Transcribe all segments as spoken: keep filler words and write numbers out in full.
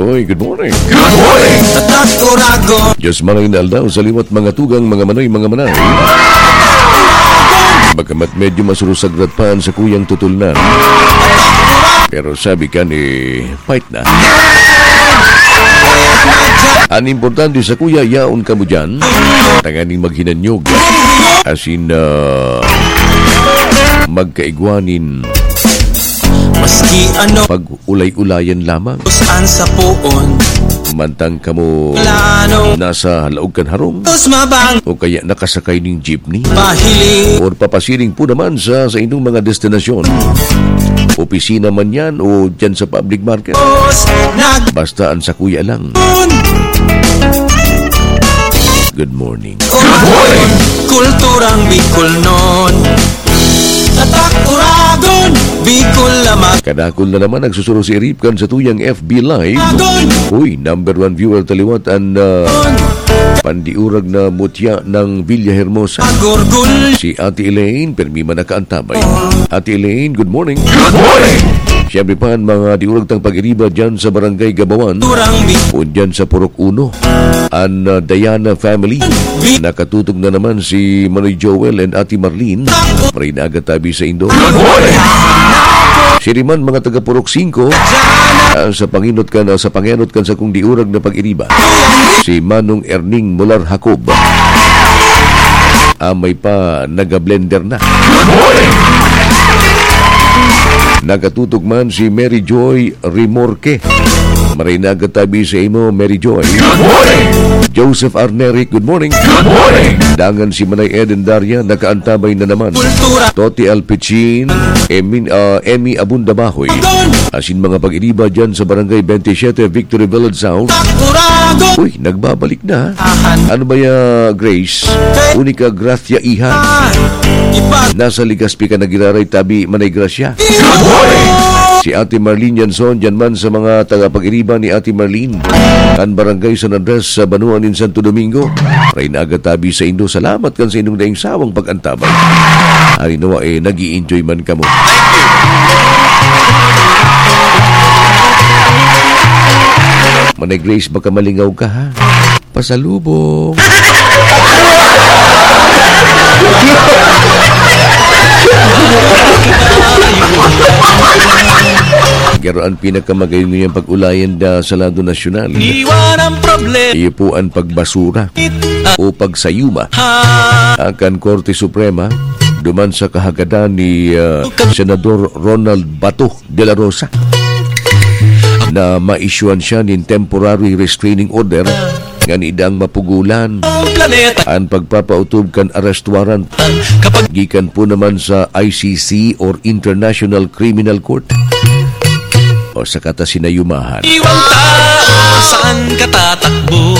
Oy, good morning. Good morning. Tatak Oragon. Diyos manay na aldaw sa liwat mga tugang, mga manay, mga manay. Bagamat medyo masurusagrat pa an sakuyang tutulnan. Pero sabi ka ni, fight na. An importante sa kuya, yaon kamo dyan. Tanganing maghinanyog. As in, ah, magkaigwanin. Maski ano. Pag ulay-ulayan lamang. Saan sa poon? Mantang kamo Plano. Nasa laog kan harong. Tos mabang. O kaya nakasakay ning jeepney. Pahiling. Or papasiring po naman sa, sa inyong mga destinasyon. Opisina man yan o dyan sa public market. Tos nag- Basta ang sakuya lang. Good morning. Good morning. Kulturang Bicol non. Tatak Oragon, Bicol lamang. Kadakul na naman nagsusuro si Ripkan sa tuyang F B Live. Agon. Uy, number one viewer taliwat an, ah, pandiurag na mutya ng Villa Hermosa. Agurgul. Si Ate Elaine, permi man nakaantabay. Ate Elaine, good morning. Good morning. Siyempre pa, ang mga diurag tang pag-iriba dyan sa Barangay Gabawan. Turang Bi- O dyan sa Purok Uno. An, ah, Diana family. Bi- Nakatutog na naman si Manoy Joel and Ate Marlene. Maray na aga tabi sa indo. Good morning. Siriman, mga taga Purok Singko, ah, sa panginot kan, ah, sa pangenot kan sakong diurag na pag-iriba. Si Manong Erning Mular Jacob. Amay pa, nagablender na. Good morning. Nakatutok man si Mary Joy Rimorque. Maray na aga tabi sa imo, Mary Joy. Good morning. Joseph Arneric, good morning. Good morning. Dangan si Manay Eden Daria, nakaantabay na naman. Kultura. Toti Alpichin, Emin, ah, Emmy Abunda Bahoy. Asin mga pag-iriba dyan sa Barangay twenty-seven, Victory Village South. Takuragon. Uy, nagbabalik na. Ahan. Ano ba ya, Grace? Kay- Unica Gracia Iha. Ah, ipa- Nasa Legazpi ka nagiraray, tabi, Manay Gracia. Good morning. Si Ate Marlene Yanson, dyan man sa mga tagapag-iriba ni Ate Marlene. Kan Barangay San Andres sa Banua nin Santo Domingo. Maray na aga tabi sa indo. Salamat kan sa indong daing sawang pag-antabay. Ari nawa, eh, nag-i-enjoy man kamo. Manay Grace, baka malingaw ka, ha? Pasalubong. Pero ang pinakamagayon ngayang pag-ulayan da sa lado nasyonal, Iwan ang problema. Iyo po ang pagbasura o pagsayuma. Ha? Akan Korte Suprema, duman sa kahagadan ni, ah, Senador Ronald Bato de la Rosa, na maisyuhan siya nin temporary restraining order ngani dang mapugulan ang pagpapautob kan arrest warrant gikan po naman sa I C C or International Criminal Court. O sa kata sinayumahan. Iwan ta, saan ka tatakbo?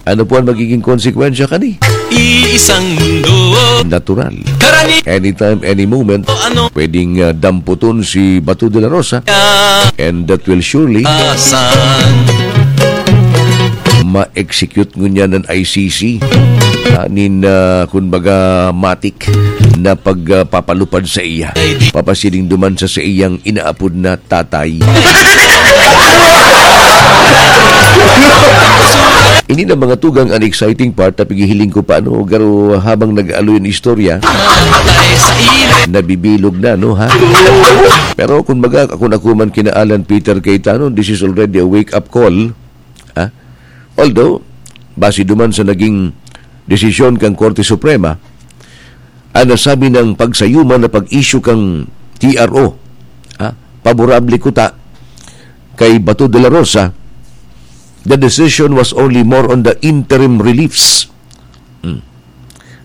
Ano po ang magiging konsekwensya kani? Iisang mundo. Natural. Karani- Anytime, any moment, O ano? Pwedeng, ah, damputon si Bato de la Rosa. Ah. And that will surely Asan? Ma-execute ngunyan ng I C C. Ah, nin, ah, kumbaga, matik na pagpapalupad sa iya. Ay, di- Papasiring duman sa, sa iyang inaapod na tatay. Ini na mga tugang an exciting part na pighihiling ko pa, no? Garo habang nag-aaloy an istorya, nabibilog na, no, ha? Pero kung baga, kung ako man kina Alan Peter Cayetano, this is already a wake-up call, ha? Although, base duman sa naging desisyon kan Korte Suprema, ang nasabi ng pagsayuma na pag-issue kan T R O, ah, paborable kuta kay Bato de la Rosa, the decision was only more on the interim reliefs. Hmm.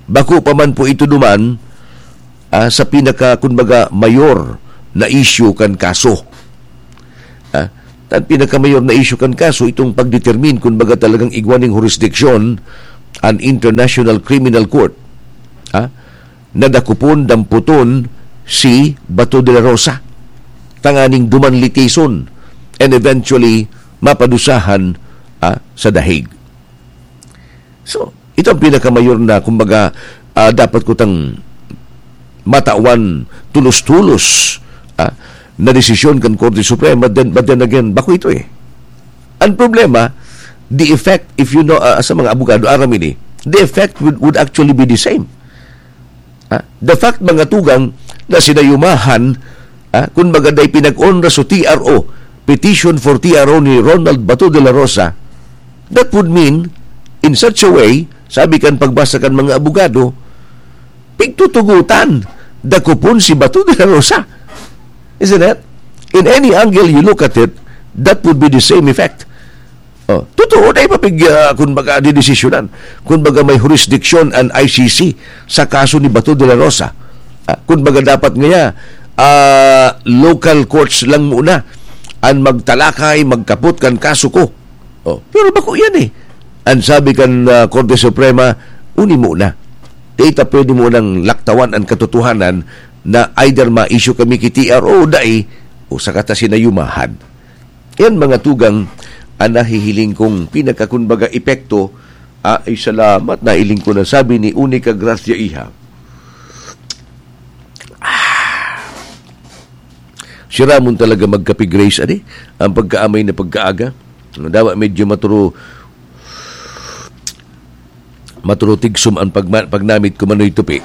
Bako pa man po ito duman, ah, sa pinaka, kumbaga, mayor na issue kan kaso. Ah, tan pinakamayor na issue kan kaso, itong pagdetermine kun baga talagang igwa ning jurisdiction an International Criminal Court, ah, na dakopon, damputon si Bato de la Rosa, tanganing duman litigason and eventually mapadusahan, ah, sa The Hague. So, ito ang pinakamayor na, kumbaga, ah, dapat kutang matawan tulos-tulos, ah, na desisyon kan Korte Suprema, then, but then again, bako ito eh. Ang problema, the effect, if you know, ah, sa mga abogado, aram ini, the effect would, would actually be the same. Ah, the fact, mga tugang, na sinayumahan, ah, kun baga day pinag-onra so T R O, petition for T R O ni Ronald Bato de la Rosa, that would mean, in such a way, sabi kan pagbasa kan mga abogado, pigtutugutan, dakopon si Bato de la Rosa. Isn't it? In any angle you look at it, that would be the same effect. Oh, totoo na ipapig-, ah, kun baga, didesisyonan. Kun baga, may jurisdiction an I C C sa kaso ni Bato de la Rosa. Ah, kun baga, dapat ngaya, ah, local courts lang muna an magtalakay, magkapot kan kaso ko. Oh, pero bako yan eh. Ang sabi kan, ah, Korte Suprema, uni muna. Di ta pwede munang laktawan ang katotohanan na either ma-issue kami ki T R O o dai, o saka ta sinayumahan. Yan, mga tugang, ang nahihiling kong pinakakunbaga epekto. Ah, ay, salamat, nailing ko na, sabi ni Unica Gracia Iha. Ah, siramon talaga magkape, Grace, ani? Ang pagkaamay na pagkaaga. Dawa medyo maturo, maturo tigsom ang pagma-, pagnamit ko, Manoy Tupi.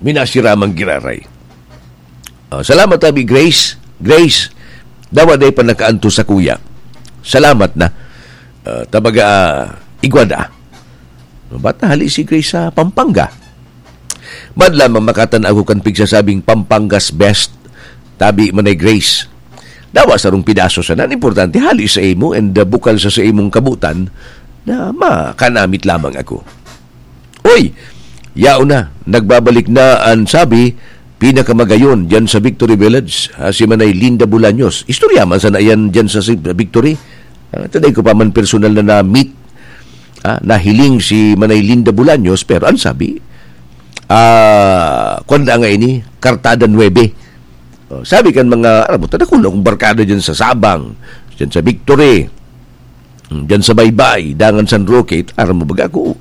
Minasiramang giraray. Ah, salamat, abi, Grace. Grace, dawa day pa nakaantos sa kuya. Salamat na. Ah, tabaga, ah, igwa da. Ba't nahali si Grace sa Pampanga? Bad lamang makatan ako kan pigsasabing Pampanga's best. Tabi man ay Grace. Dawa sarong pidaso sana. Ang importante, hali sa imo and, uh, bukal sa, sa imong kabutan na makanamit lamang ako. Oy! Yaon na, nagbabalik na an sabi, pinakamagayon dyan sa Victory Village, ah, si Manay Linda Bolaños. Istorya man sana yan dyan sa, sa Victory. Ah, ito, dai ko pa man personal na na-meet, ah, nahiling si Manay Linda Bolaños, pero ang sabi, ah, kwan na nga ini, Kartada nuebe. Oh, sabi kan mga, aram mo, tadakul akong barkada dyan sa Sabang, dyan sa Victory, dyan sa Baybay, dangan San Roque, aram mo baga ako,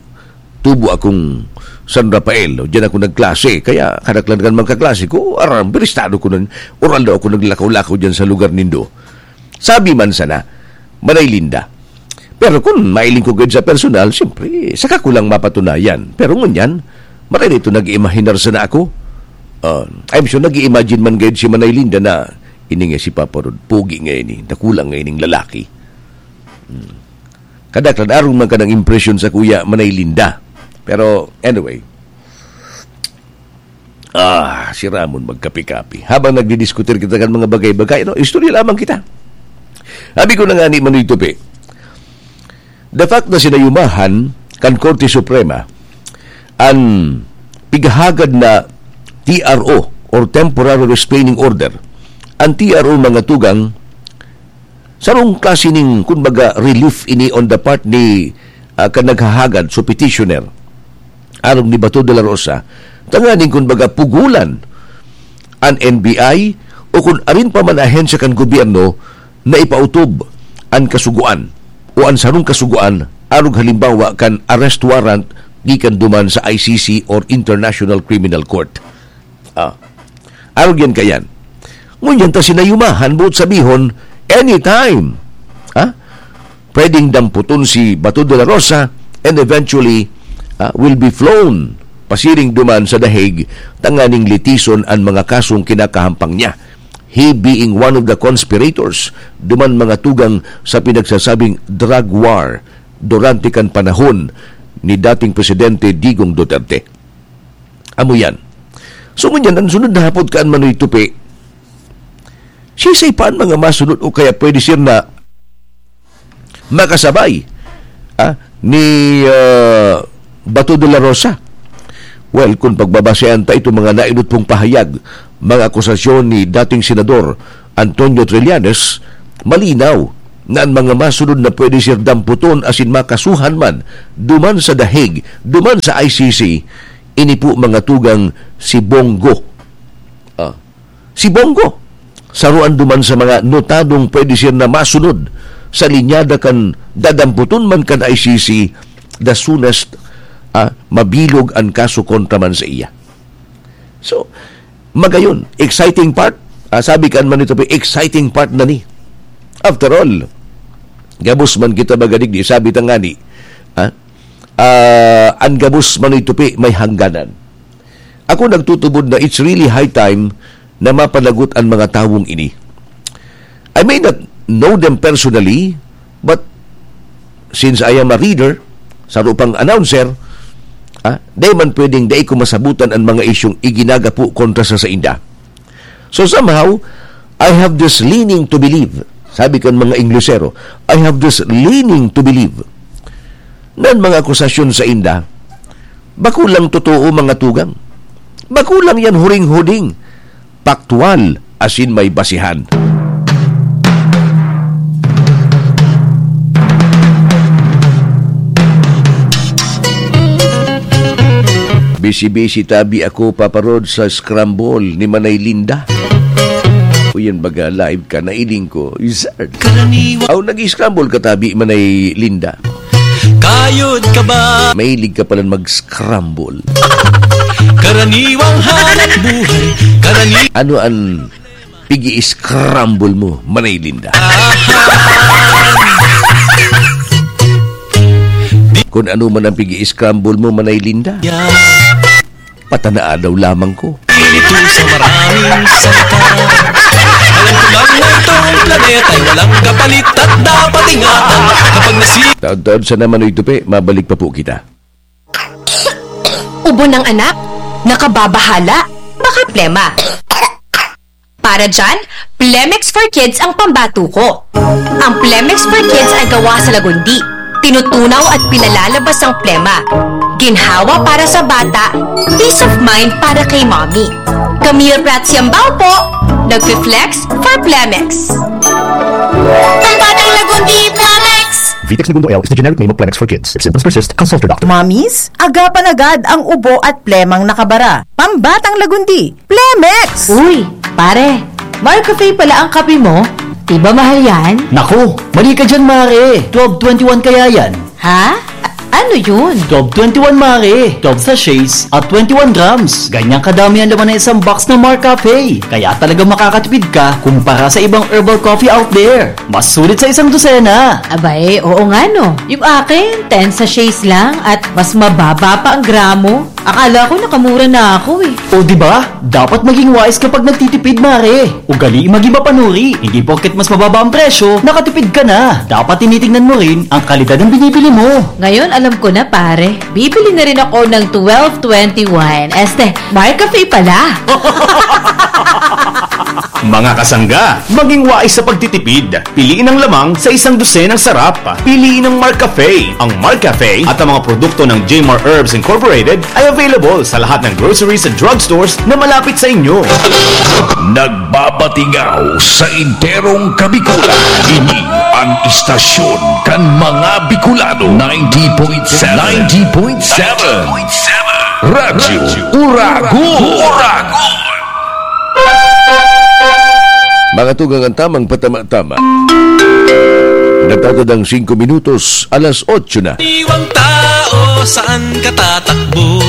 tubo akong San Rafael, o dyan ako nagklase, kaya kadaklan kan mga kaklase ko, aram, biristado ko nun, oral daw ako naglakaw-lakaw dyan sa lugar nindo. Sabi man sana, Manay Linda. Pero kun mailing ko gayud sa personal, siyempre, saka ko lang mapatunayan. Pero ngunyan, maray na ito nag-iimahinar sana ako. Ah, I'm sure nag-i-imagine man gayud si Manay Linda na, "Ini nga si Papa Rod, pogi nga ini, dakula nga ining lalaki." Hmm. Kadaklan, arog man ka ng impresyon sa kuya Manay Linda. Pero, anyway, ah, siramon magkapi-kapi. Habang nagdidiskutir kita kan mga bagay-bagay, no? Istorya lamang kita. Sabi ko na nga ni Manoy Tupi, the fact na sinayumahan kan Korte Suprema an pighahagad na T R O or Temporary Restraining Order, ang T R O, mga tugang, sarong klase ning, kumbaga, relief ini on the part ni, ah, kan naghahagad, so petitioner, arog ni Bato de la Rosa, tanganing, kumbaga, pugulan an N B I o kun arin pa man ahensya kan gobyerno na ipautob an kasugoan o an sarong kasugoan, arog halimbawa kan arrest warrant gikan duman sa I C C or International Criminal Court. Ah. Arog yan kayan. Ngunyan ta sinayumahan, boot sabihon, anytime, ha? Pwedeng damputon si Bato de la Rosa and eventually, ah, will be flown pasiring duman sa The Hague tanganing litison an mga kasong kinakahampang niya. He being one of the conspirators duman, mga tugang, sa pinagsasabing drug war durante kan panahon ni dating Presidente Digong Duterte. Amo yan. So, ngunyan, ang sunod na hapot kan Manoy Tupi, sisay pa an mga masunod o kaya pwede siya na makasabay, ah, ni, ah, Bato de la Rosa? Well, kung pagbabasehan ta itong mga nainot pong pahayag, mga akusasyon ni dating Senador Antonio Trillanes, malinaw na ang mga masunod na pwede siya damputon asin makasuhan man duman sa The Hague, duman sa I C C, ini po, mga tugang, si Bong Go. Ah, si Bong Go, saruan duman sa mga notadong pwede siya na masunod sa linyada kan dadamputon man kan I C C, the soonest, ah, mabilog an kaso kontra man sa iya. So, magayon, exciting part. Ah, sabi kan Manoy Tupi, exciting part na ni. After all, Gabos man kita magadigdi, sabi ta ngani, ha? Ah, an gabos manoy tupi may hangganan. Ako nagtutubod na it's really high time na mapanagot an mga tawong ini. I may not know them personally, but since I am a reader, saro pang announcer, ah, dai man pwedeng dai ko masabutan an mga isyong iginagapo kontra sa sainda. So somehow, I have this leaning to believe. Sabi kan mga Inglesero, "I have this leaning to believe." Nan mga akusasyon sainda, bako lang totoo, mga tugang. Bako lang yan huring-huding, paktwal, asin may basihan. Busy-busy tabi ako, Papa Rod, sa scramble ni Manay Linda. O yan, baga live ka, nailing ko. Izard. Karaniwan. Aw, nag-scramble ka tabi, Manay Linda. Kayod ka ba? Mahilig ka palan mag-scramble. Karaniwang hanap buhay. Karani- Ano an pigi-scramble mo, Manay Linda? Kung ano man ang pigi-scramble mo, Manay Linda, Yeah. patanaa daw lamang ko. Pinito sa maraming salita. Alam ko lang na itong planeta'y walang kapalit at dapat ingatan. Kapag nasi- Taon-taon sana, Manoy Tupi, mabalik pa po kita. Ubo ng anak, nakababahala, baka plema. Para dyan, Plemex for Kids ang pambato ko. Ang Plemex for Kids ay gawa sa lagundi, tinutunaw at pinalalabas ang plema. Ginhawa para sa bata, peace of mind para kay mommy. Camille Prats Yambao po, nagfi-flex for Plemex. Pambatang lagundi, Plemex! Vitex Negundo L is the generic name of Plemex for Kids. If symptoms persist, consult your doctor. Mommies, agapan agad ang ubo at plemang nakabara. Pambatang lagundi, Plemex! Uy, pare, Marcafe pala ang kape mo? Di ba mahal yan? Naku, mali ka dyan, mare. Twelve twenty-one kaya yan. Ha? A-, ano yun? Twelve twenty-one, mare. Twelve sachets at twenty-one grams. Ganyang kadami ang laman ng isang box ng Marcafe. Kaya talaga makakatipid ka kumpara sa ibang herbal coffee out there. Mas sulit sa isang dosena. Abay, oo nga no. Yung akin, ten sachets lang at mas mababa pa ang gramo. Akala ko nakamura na ako eh. O, di ba? Dapat maging wais kapag nagtitipid, mare. Ugali maging mapanuri. Hindi porket mas mababa ang presyo, nakatipid ka na. Dapat tinitingnan mo rin ang kalidad ng binibili mo. Ngayon, alam ko na, pare. Bibili na rin ako ng twelve twenty-one. Este, Marcafe pala. Mga kasangga, maging wais sa pagtitipid. Piliin ang lamang sa isang dosenang sarap. Piliin ang Marcafe. Ang Marcafe at ang mga produkto ng J M R Herbs Incorporated ay available sa lahat ng groceries at drugstores na malapit sa inyo. Nagbabatingaw sa enterong Kabikulan. Ini ang istasyon kan mga Bicolano. Ninety point seven. Ninety point seven. Radyo Uragon. Uragon. Mga tugang, ang tamang patama-tama. Nagtatadang singko minutos, alas otso na. Iwang tao, saan ka tatakbo?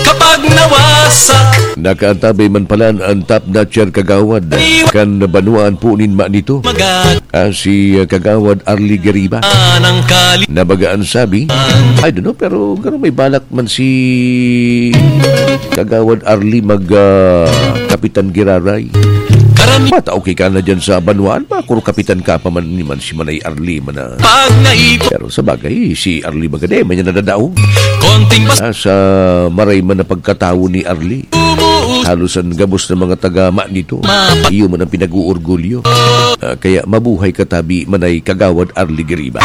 Kapag nawasa. Nakaantabay man pala ang top notcher kagawad kan banwaan po nin ma nito. Magag- Ah, si, ah, Kagawad Arlie Gariba. Anang kali- Na baga an sabi, I don't know, pero garo may balak man si Kagawad Arlie mag, ah, Kapitan Giraray. Karami- Bata, okay ka na dyan sa banwaan, makuro kapitan ka pa man ni man si Manay Arlie man na. Pag naipon- Pero sa bagay, si Arlie baga di man niya nadadaog. Konting bas- Ah, sa maray man na pagkatawo ni Arlie. Halos an gabos na mga taga ma nito, iyo man ang pinag-uorgulyo. Ah, kaya mabuhay ka tabi, Manay Kagawad Arlie Giriba.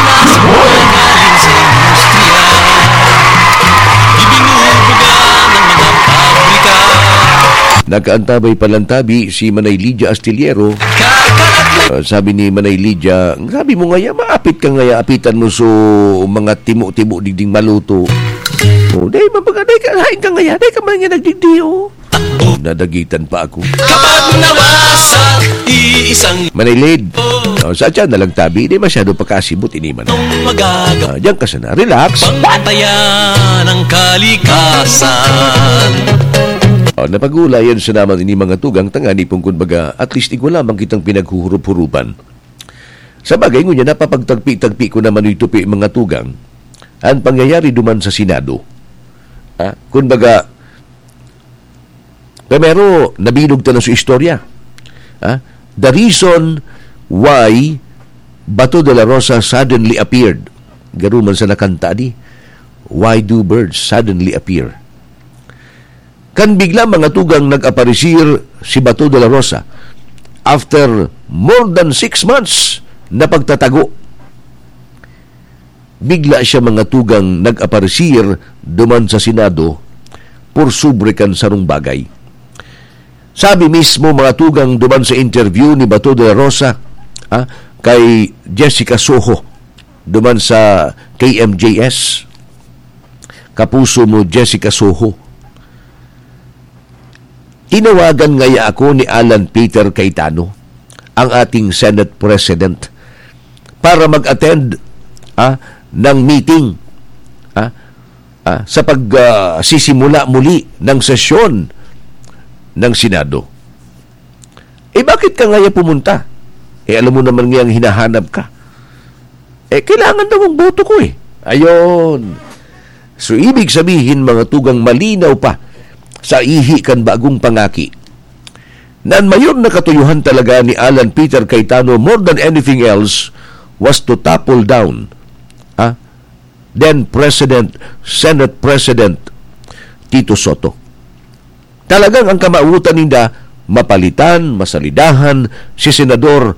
Nakaantabay pa lang tabi si Manay Lydia Astillero. Ah, sabi ni Manay Lydia, "Sabi mo ngaya, maapit ka ngaya, apitan mo so mga timo-timo digding maluto." Oh, dai, mabaga, dai ka, hain ka ngaya, dai ka man nga nagdigdi, oh. Nadagitan pa ako. Kapag nawasa, iisang Manilid. Oh, sa tiyan na lang tabi, di masyado pakasibot ini man. Anong magagawa? Ah, diyan ka sana. Relax. Bantayan ang kalikasan. Oh, napag-uulayan sa naman ini mga tugang tangani pong kun baga, at least igwa lamang kitang pinaghuhurup-hurupan. Sa bagay, ngunyan, napapagtagpi-tagpi ko naman ito, pi-, mga tugang, ang pangyayari duman sa Senado. Ha? Kumbaga, primero, nabilog ta na sa istorya. Ha? The reason why Bato de la Rosa suddenly appeared. Garo man sa nakanta di, "Why do birds suddenly appear?" Kan bigla, mga tugang, nag-aparisir si Bato de la Rosa. After more than six months na pagtatago, bigla siya, mga tugang, nag-aparisir duman sa Senado por sobre kan sarong bagay. Sabi mismo, mga tugang, duman sa interview ni Bato de la Rosa, ah, kay Jessica Soho, duman sa K M J S, kapuso mo, Jessica Soho, "Tinawagan ngaya ako ni Alan Peter Cayetano, ang ating Senate President, para mag-attend, ah, ng meeting, ah, ah, sa pag, ah, sisimula muli ng sesyon ng Senado." "Eh, bakit ka ngaya pumunta? Eh, alam mo naman ngayang hinahanap ka." "Eh, kailangan daw ang boto ko eh." Ayon. So, ibig sabihin, mga tugang, malinaw pa sa ihi kan bagong pangaki na an mayor na katuyuhan talaga ni Alan Peter Cayetano, more than anything else, was to topple down, ah, then President, Senate President Tito Soto. Talagang ang kamawotan ninda, mapalitan, masalidahan si Senador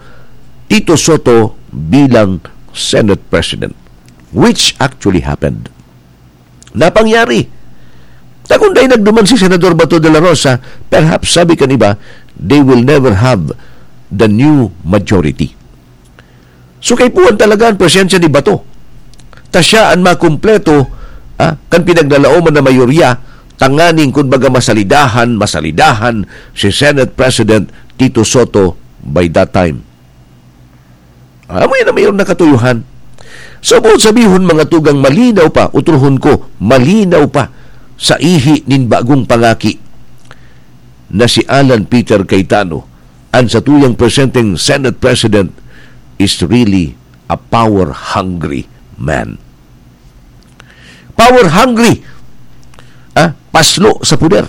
Tito Soto bilang Senate President, which actually happened. Napangyari. Ta kun dai nagduman si Senador Bato de la Rosa, perhaps, sabi kan iba, they will never have the new majority. So, kaipuhan talaga an presensya ni Bato. Ta siya an makumpleto, ah, kan pinaglalaoman na mayorya, tanganing, kumbaga, masalidahan, masalidahan si Senate President Tito Soto by that time. Amo yan ang mayor na katuyuhan. So, boot sabihon, mga tugang, malinaw pa, utrohon ko, malinaw pa sa ihi nin bagong pangaki na si Alan Peter Cayetano, an satuyang presenteng Senate President, is really a power-hungry man. Power-hungry! Ah, paslo sa poder.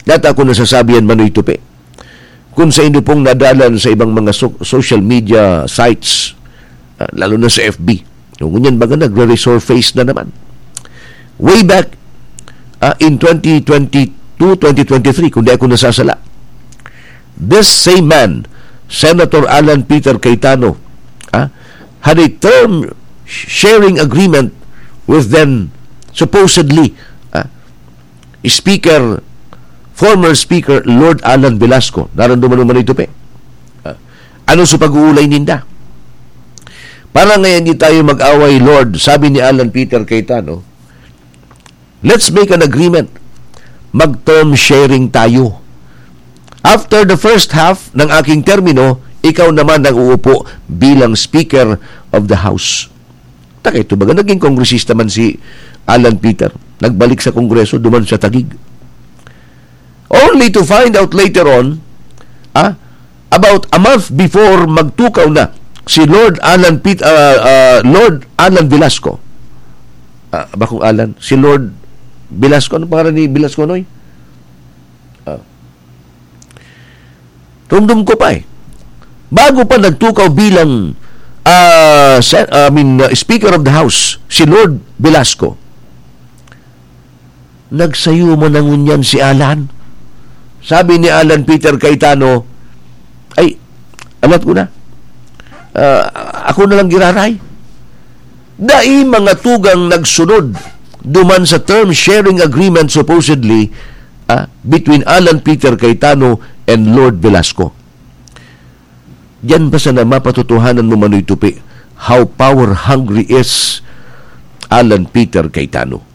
Dati ako nasasabi yan, Manoy Tupi. Kung sa inyo pong nadalan sa ibang mga so-, social media sites, ah, lalo na sa F B, ngunyan baga nagre-resurface na naman. Way back, ah, in twenty twenty-two, twenty twenty-three, kung di ako nasasala, this same man, Senator Alan Peter Cayetano, ah, had a term sharing agreement with then supposedly, ah, Speaker, former Speaker Lord Alan Velasco. Naramdaman mo man ito, pe? Ah, ano sa pag-uulay ninda? "Para ngayon di tayo mag-away, Lord," sabi ni Alan Peter Cayetano. "Let's make an agreement. Mag-term sharing tayo. After the first half ng aking termino, ikaw naman ang uupo bilang Speaker of the House." Taka ito, baga naging kongresista man si Alan Peter. Nagbalik sa Kongreso, duman sa Taguig. Only to find out later on, ah, about a month before magtukaw na si Lord Alan Pet-, ah, ah, Lord Alan Velasco. Ah, bakong Alan? Si Lord Velasco. Ano pangalan ni Velasco, Noy? Ah. Rumdom ko pa eh. Bago pa nagtukaw bilang, ah, se-, I mean, ah, Speaker of the House, si Lord Velasco, nagsayo man na ngunyan si Alan. Sabi ni Alan Peter Cayetano, "Ay, alat ko na. Ah, ako na lang giraray." Dai mga tugang nagsunod duman sa term sharing agreement, supposedly, ah, between Alan Peter Cayetano and Lord Velasco. Diyan pa sana mapatotohanan mo, Manoy Tupi, how power hungry is Alan Peter Cayetano.